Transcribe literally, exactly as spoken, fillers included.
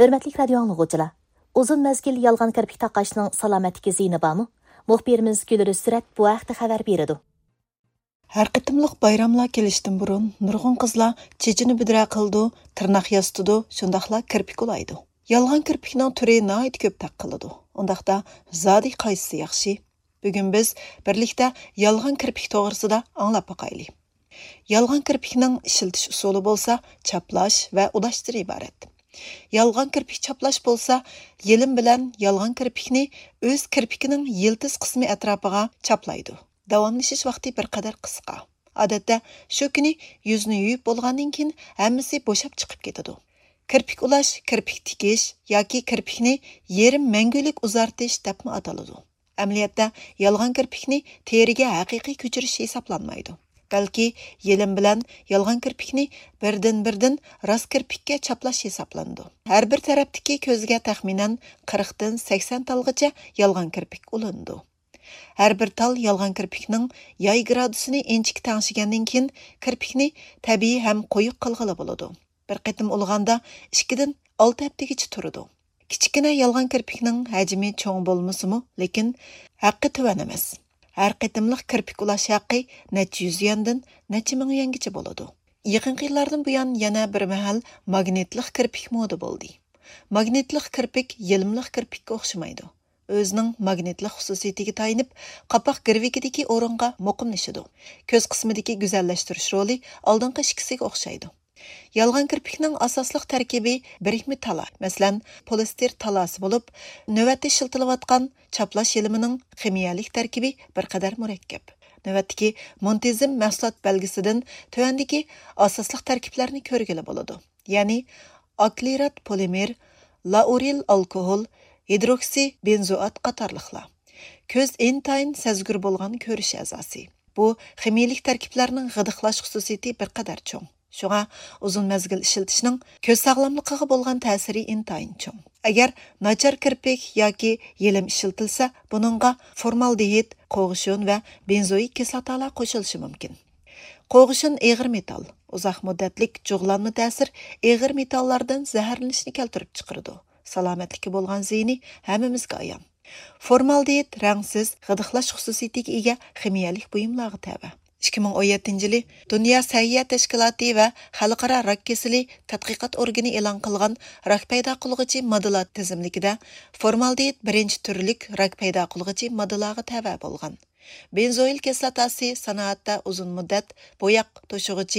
ھۆرمەتلىك رادىيو ئاڭلىغۇچىلار، ئۇزۇن مەزگىل يالغان كىرپىك تاقاشنىڭ سالامەتلىككە زىيىنى بارمۇ؟ مۇخبىرىمىز گۈلرۈز سۈرەت بۇ ھەقتە خەۋەر بېرىدۇ. ھەر قېتىملىق بايراملار كېلىشتىن بۇرۇن نۇرغۇن قىزلار چېچىنى بۈدرە قىلىدۇ، تىرناق ياسىتىدۇ، شۇنداقلا كىرپىك ئۇلايدۇ. يالغان كىرپىكنىڭ تۈرى ناھايىتى كۆپ تەق قىلىدۇ. ئۇنداقتا زادى قايسىسى ياخشى؟ بۈگۈن بىز بىرلىكتە يالغان كىرپىك توغرىسىدا ئاڭلاپ باقايلى. يالغان كىرپىكنىڭ ئىشلىتىش ئۇسۇلى بولسا چاپلاش ۋە ئۇلاشتىن ئىبارەت. يالغان كىرپىك چاپلاش بولسا يېلىم بىلەن يالغان كىرپىكنى ئۆز كىرپىكىنىڭ يىلتىز قىسمى ئەتراپىغا چاپلايدۇ. داۋاملىشىش ۋاقتى بىر قەدەر قىسقا. ئادەتتە شۇ كۈنى يۈزنى يۇيۇپ بولغاندىن كېيىن ھەممىسى بوشاپ چىقىپ كېتىدۇ. كىرپىك ئۇلاش، كىرپىك تىكىش ياكى كىرپىكنى يېرىم مەڭگۈلۈك ئۇزارتىش دەپمۇ ئاتىلىدۇ. ئەمەلىيەتتە يالغان كىرپىكنى تېرىگە ھەقىقىي كۆچۈرۈش ھېسابلانمايدۇ. بەلكى يېلىم بىلەن يالغان كىرپىكنى بىردىن-بىردىن راست كىرپىككە چاپلاش ھېسابلىنىدۇ. ھەر بىر تەرەپتىكى كۆزگە تەخمىنەن قىرىقتىن سەكسەن تالغىچە يالغان كىرپىك ئۇلىنىدۇ. ھەر بىر تال يالغان كىرپىكنىڭ ياي گرادۇسىنى ئىنچىكە تەڭشىگەندىن كېيىن، كىرپىكنى تەبىئىي ھەم قويۇق قىلغىلى بولىدۇ. بىر قېتىم ئۇلىغاندا ئىككىدىن ئالتە ھەپتىگىچە تۇرىدۇ. كىچىككىنە يالغان كىرپىكنىڭ ھەجمى چوڭ بولمىسىمۇ، لېكىن ھەققى تۆۋەن ئەمەس. ھەر قېتىملىق كىرپىك ئۇلاش ھەققى نەچچە يۈز يۈەندىن نەچچە مىڭ يۈەنگىچە بولىدۇ. يېقىنقى يىللاردىن بۇيان يەنە بىر مەھەل ماگنىتلىق كىرپىك مودا بولدى. ماگنىتلىق كىرپىك يېلىملىق كىرپىككە ئوخشىمايدۇ. ئۆزىنىڭ ماگنىتلىق خۇسۇسىيىتىگە تايىنىپ، قاپاق گىرۋىكىدىكى ئورۇنغا مۇقىملىشىدۇ. كۆز قىسمىدىكى گۈزەللەشتۈرۈش رولى ئالدىنقى ئىككىسىگە ئوخشايدۇ. يالغان كىرپىكنىڭ ئاساسلىق تەركىبى بىرىكمە تالا، مەسىلەن، پولىستىر تالاسى بولۇپ، نۆۋەتتە ئىشلىتىلىۋاتقان چاپلاش يېلىمىنىڭ خىمىيەلىك تەركىبى بىر قەدەر مۇرەككەپ. نۆۋەتتىكى مونتىزېم مەھسۇلات بەلگىسىدىن تۆۋەندىكى ئاساسلىق تەركىبلەرنى كۆرگىلى بولىدۇ. يەنى ئاكرىلات پولىمېر، لائۇرىل ئالكوھول، ھىدروكسى بېنزوئات قاتارلىقلار. كۆز ئىنتايىن سەزگۈر بولغان كۆرۈش ئەزاسى. بۇ خىمىيىلىك تەركىبلەرنىڭ غىدىقلاش خۇسۇسىيىتى بىر قەدەر چوڭ. شۇڭا ئۇزۇن مەزگىل ئىشلىتىشنىڭ كۆز ساغلاملىقىغا بولغان تەسىرى ئىنتايىن چوڭ. ئەگەر ناچار كىرپىك ياكى يېلىم ئىشلىتىلسە، بۇنىڭغا فورمالدېھىد، قوغۇشۇن ۋە بېنزوئىك كىسلاتالار قوشۇلۇشى مۇمكىن. قوغۇشۇن ئېغىر مېتال، ئۇزاق مۇددەتلىك جۇغلانما تەسىر ئېغىر مېتاللاردىن زەھەرلىنىشنى كەلتۈرۈپ چىقىرىدۇ. سالامەتلىككە بولغان زىيىنى ھەممىمىزگە ئايان. فورمالدېھىد رەڭسىز، غىدىقلاش خۇسۇسىيىتىگە ئىگە خىمىيەلىك بۇيۇملارغا تەۋە. ئىككى مىڭ ئون يەتتىنچى يىلى دۇنيا سەھىيە تەشكىلاتى ۋە خەلقئارا راك كېسىلى تەتقىقات ئورگىنى ئېلان قىلغان راك پەيدا قىلغۇچى ماددىلار تىزىملىكىدە فورمالدېھىد بىرىنچى تۈرلۈك راك پەيدا قىلغۇچى ماددىلارغا تەۋە بولغان. بېنزوئىل كىسلاتاسى سانائەتتە ئۇزۇن مۇددەت بوياق توشۇغۇچى،